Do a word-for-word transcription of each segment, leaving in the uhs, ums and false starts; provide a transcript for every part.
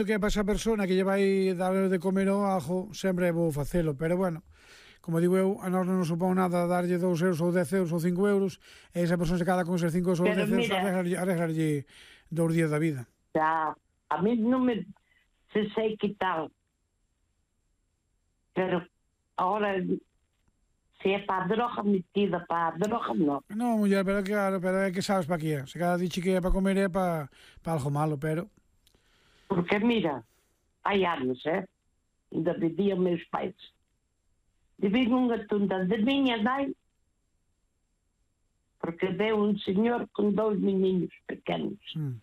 que para esa persona que lle vai dar de comer ao ajo, sempre vou facelo, pero bueno, como digo eu, a nós non nos supón nada darlle dous euros ou dez euros ou cinco euros, e esa persona se cada con esos cinco euros ou dez euros arreglarlle, arreglarlle dous días da vida. Já, a mí non me se sei que tal, pero agora se é para a droga metida, para a droga non. Non, muller, pero claro, pero é que sabes para que é. Se cada dixe que é para comer é para, para algo malo, pero... Porque mira, hai anos, eh? Ainda viviam meus pais. Vivi nunha tunda de miña nai, porque deu un señor con dous meninos pequenos. Mm.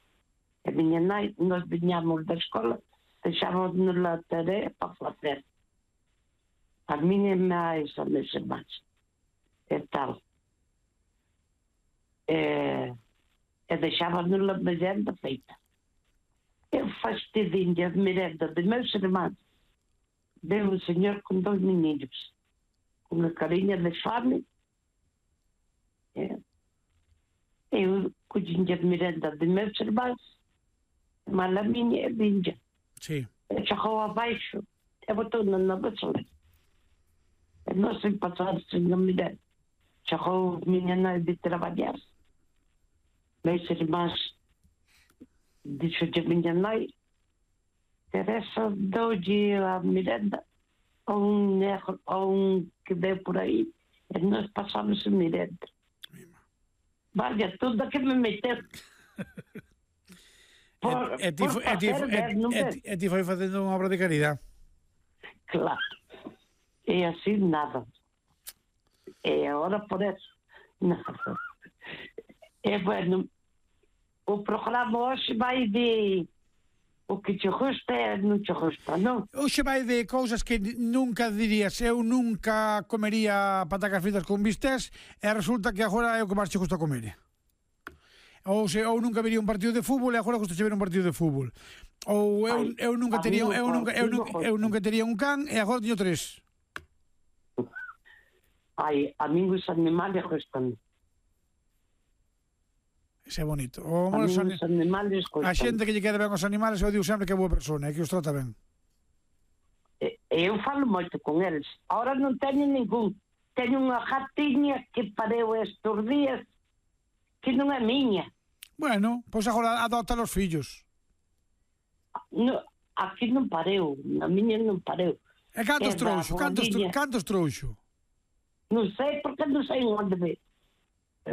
A miña nai, nós viñamos da escola, deixábamos na tarea para facer. A miña máis, a meus irmãs. E tal. E, e deixábamos na merenda feita. Eu fastidinha de merenda de meus irmãos. Deu um senhor com dois meninos, com uma carinha de fome. É. Eu cuidinha de merenda de meus irmãos, mas a minha é vinha. Sí. Eu chegou abaixo, eu botou na vassoura. Eu não sei passar sem a merenda. Chegou a minha mãe de trabalhar. Meus irmãos disse de minha mãe, Teresa, dou-lhe a merenda a um negro, a um que veio por aí, e nós passamos a merenda. Vale, tudo que me meteu. Por, e, e, ti, por e, ti, e, e, e ti foi facendo unha obra de caridade. Claro. E assim nada. E agora por eso nada. E bueno, o programa hoxe vai de o que te gusta e non te gusta, non? Hoxe vai de cousas que nunca dirías, eu nunca comería patacas fritas con bistés, e resulta que agora é o que máis te gusta comer. Ou se ou nunca vería un partido de fútbol e agora gusta ver un partido de fútbol. Ou eu, eu nunca tería eu nunca eu nunca eu nunca tería un can e agora teño tres. Ai, a min os animales gustan. Ese é bonito. O, a os animales gustan. A xente que lle queda ben os animales, eu digo sempre que é boa persona e que os trata ben. Eu falo moito con eles. Ahora non teño ningún. Teño unha gatiña que pareu estes días que non é miña. Bueno, pois agora adopta os fillos. No, aquí non pareu. Na miña non pareu. E cantos trouxo? Cantos, cantos trouxo? Non sei, porque non sei onde ve.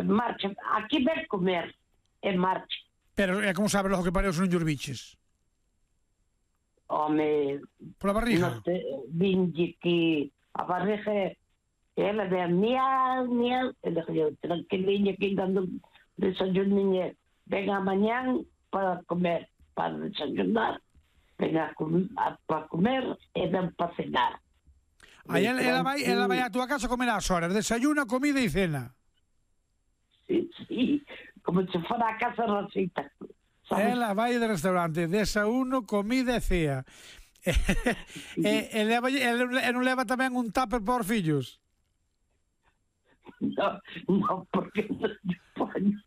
Marcha. Aquí ven comer. E marcha. Pero é como sabes logo que pareu se non llos biches? Home... Pola barriga? Vinlle que a barriga... Ela ve miau, miau. E dije, tranquilinha que dando desayuninha. Venga amanhã para comer, para desayunar. Venga para comer e ven para cenar. Aí ela, ela, vai, ela vai a tua casa a comer ás horas. Desayuna, comida e cena. Sí, sí. Como se fora a casa Rosita. ¿Sabes? Ela vai de restaurante, desayuno, comida e cea. e, e, leva, e, e non leva tamén un tupper por fillos? No, no, porque non te poño.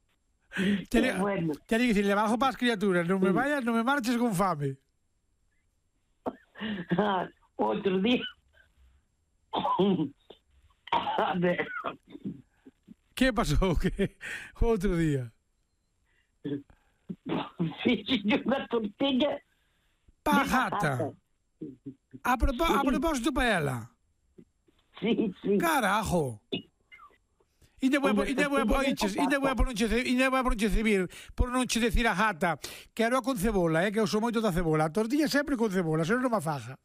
Te bueno. Te digo, le bajo para as criaturas, non me vayas, non me marches con fame. Ah, outro día. A ver. Que pasou? Que outro día? Fixe unha tortilla pa gata. A, propó a propósito para ela. Sí, sí. Carajo. E debo e debo e debo por non che e debo por non che civil, por non che decir a gata que era con cebola, eh, que eu sou moito da cebola. A tortilla sempre con cebola, senón non me faja.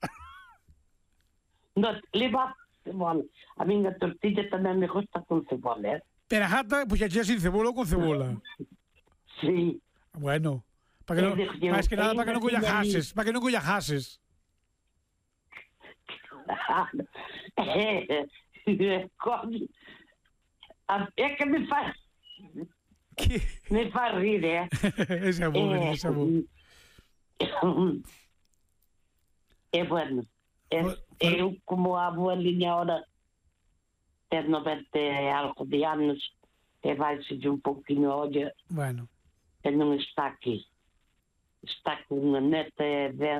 No, leva cebola. A minha tortilla tamén me gusta con cebola, eh. Pero a gata, pues ya sin cebola ou con cebola. Sí. Bueno, para que no, más que nada para que non collajases, para que non collajases. É que me faz que me faz rir, eh. Esa é boa, eh, esa é boa. É bueno. É, eu, como a abuelinha ahora ter noventa e algo de anos, e vai-se de um pouquinho, olha, bueno, e non está aquí. está com unha neta de